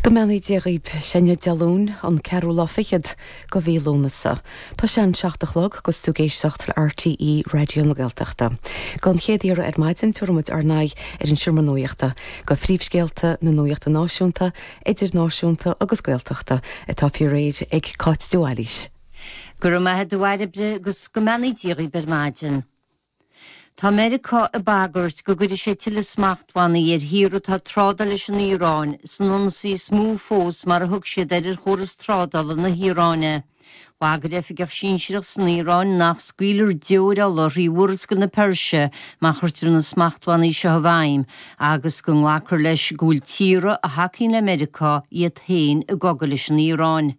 Go mbeannaí Dia dhaoib, sé inniu Dé Luain, an ceathrú lá fichead go mhí Lúnasa. Tá sé an 7 a chlog agus tú ag éisteacht le RTÉ Raidió na Gaeltachta. Don chéad iarraidh ar maidin, tabharfaidh muid ár n-aghaidh ar an seomra nuachta, go phríomhscéalta na nuachta náisiúnta, idirnáisiúnta agus Gaeltachta atá faoi réir ag Cáit de Bhailís. Go raibh maith agat a Bhairbre agus go mbeannaí Dia dhaoib ar maidin. Tá Meiriceá ag bagairt go gcuirfidh sé tuilleadh smachtbhannaí ar thíortha atá ag trádáil leis an Iaráin, san ionsaí is mó fós mar a thug siad air ar chóras trádála na hIaráine. Bhagair oifigeach sinsearach san Iaráin nach scaoilfear deoir ola thrí Mhurascaill na Peirse má chuirtear na smachtbhannaí seo i bhfeidhm agus go nglacfar leis go bhfuil tíortha a thacaíonn le Meiriceá iad féin i gcogadh leis an Iaráin.